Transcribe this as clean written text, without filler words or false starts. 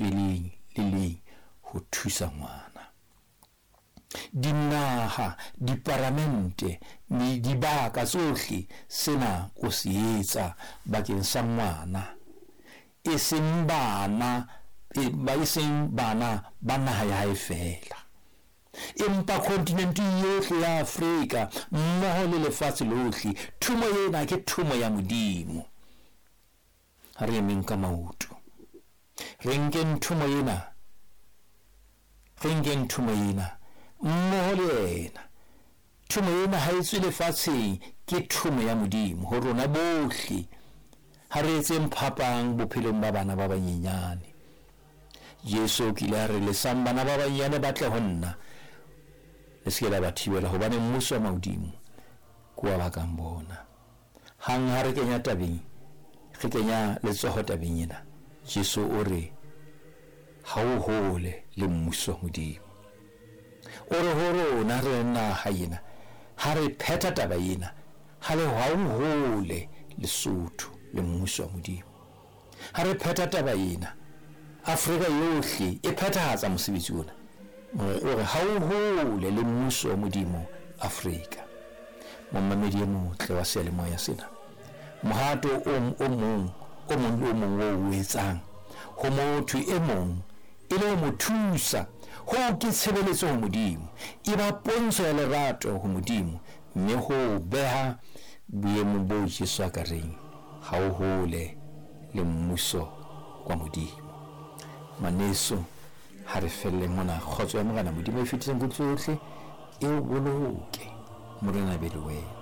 lentswe leng le leng ho thusa ngwana. Dinaha, diparamente, dibaka tsohle, sena o se etsa bakeng sa ngwana, e seng bana, e seng bana ba naha ya hae feela, empa kontinente yohle ya Afrika mmoho le lefatshe lohle. Thomo ena ke thomo ya Modimo. Ha re emeng ka maoto, re nkeng thomo ena, re nkeng thomo ena mmoho le yena. Thomo ena ha e tswe lefatsheng, ke thomo ya Modimo ho rona bohle. Ha re etseng phapang bophelong ba bana ba banyenyane. Jesu o kile a re, lesang bana ba banyenyane ba tle ho nna, le se ke la ba thibela, hobane mmuso wa mahodimo ke wa ba kang bona. Hang ha re kenya tabeng, re kenya letsoho tabeng ena, Jesu o re, ha o hole le mmuso wa Modimo. O re ho rona re le naha ena, ha re phetha taba ena, ha le ha o hole Lesotho le mmuso wa Modimo. Ha re phetha taba ena, Afrika yohle e phethahatsa mosebetsi ona. O re ha o hole le mmuso wa Modimo Afrika. Momamedi e motle wa seyalemoya sena, mohato o, o mong o mong le o mong o o etsang ho motho e mong e le ho mo thusa, hoo ke tshebeletso ho Modimo, e ba pontsho ya lerato ho Modimo, mme ho beha boemong boo Jesu a ka reng ha o hole le mmuso wa Modimo. Ngwaneso, ha re felle mona. Kgotso ya Morena Modimo e fetisang kutlo yohle e o boloke. Morena be le wena.